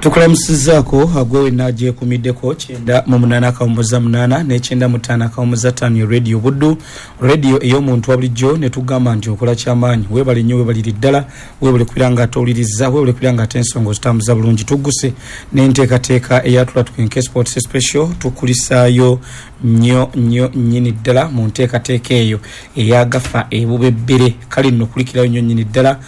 Tukulamusizaako gwe wenna agyekuumiddeko 98.8 ne 95.5 Radio Buddu, radio ey'omuntu wa bulijjo, ne tugamba nti okola kyamaanyi. Weebale nnyo, weebalire ddala, weebale kubeera nga ate owuliriza, weebale kubeera nga ate ensonga ozitambuza bulungi. Tugguse n'enteekateeka eya Tula Tukenke Sports Special, tukulisaayo nnyo nnyo nnyini ddala mu nteekateeka eyo eyagafa ebubebbere. Kale nno kulikirayo nnyo nnyini ddala,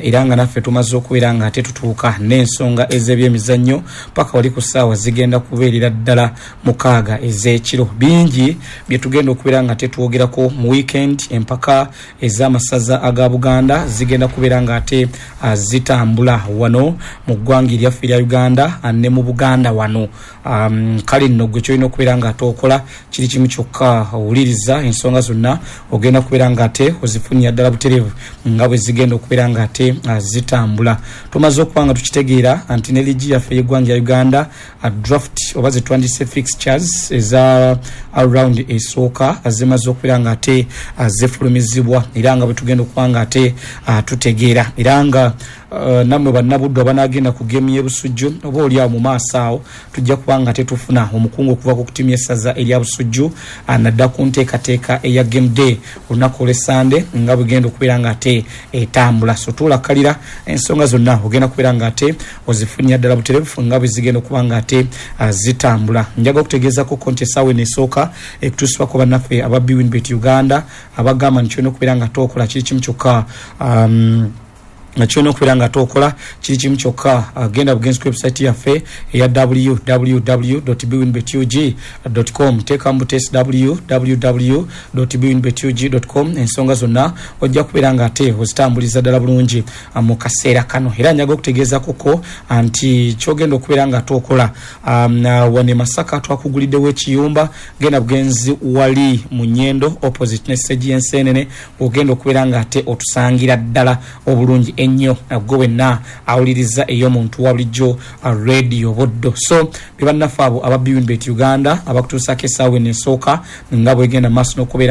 era nga naffe tumaze okubeera nga ate tutuuka n'ensonga ez'ebyemizannyo paka wali ku ssaawa zigenda kubeerera ddala 6 ez'ekiro. Bingi bye tugenda okubeera nga tetwogerako mu weekend. Empaka ez'amasaza aga Buganda zigenda kubeera nga ate zitambula wano mu ggwanga eryaffe erya Uganda ne mu Buganda wano. Kale nno gwe kyolina okubeera nga ate okola kiri kimu kyokka, owuliriza ensonga zonna, ogenda kubeera nga ate ozifunira ddala butereevu nga bwe zigenda okubeera nga ate zitambula. Tumaze okuba nga tukitegeera nti ne liigi yaffe ey'eggwanga lya Uganda, draft oba zetwandise fixtures eza round esooka zimaze okubeera nga ate zifulumizibwa, era nga bwe tugenda okuba nga ate tutegeera, era nga nammwe bannabuddu abanaagenda ku geemu y'e Busujju oba oli awo mu maaso awo, tujja kuba nga tetufuna omukungu okuva ku ttiimu y'essaza erya Busujju nadda ku nteekateeka eya game day olunaku olw'Essande nga bwegenda okubeera nga ate etambula. So tuulakalira ensonga zonna, ogenda kubeera nga ate ozifunira ddala butereevu nga bwe zigenda okuba nga ate zitambula. Njaga okutegeezako nti essaawa eno esooka ekutuusibwako bannaffe aba Bwinbet Uganda, abagamba nti kyolina okubeera nga ate okola kiri kimu kyokka, kyolina okubeera nga tokola kiri kimu kyokka, genda bugenzi ku website yaffe eya www.bwinbetug.com, teekamu butesi www.bwinbetug.com, ensonga zonna ojja kubeera nga ate ozitambuliza ddala bulungi mu kaseera kano. Era njaga okutegeezakoko nti kyogenda okubeera nga tokola, wano e Masaka twakuguliddewo ekiyumba, genda bugenzi wali mu Nyendo opposite ne stage y'Ensenene, ogenda okubeera nga ate otusangira ddala obulungi ennyo gwe wenna awuliriza ey'omuntu wa bulijjo Radio Buddu. So be bannaffe abo aba Bwinbet Uganda abakutuusaako essaawa eno esooka nga bwegenda maaso n'okubeera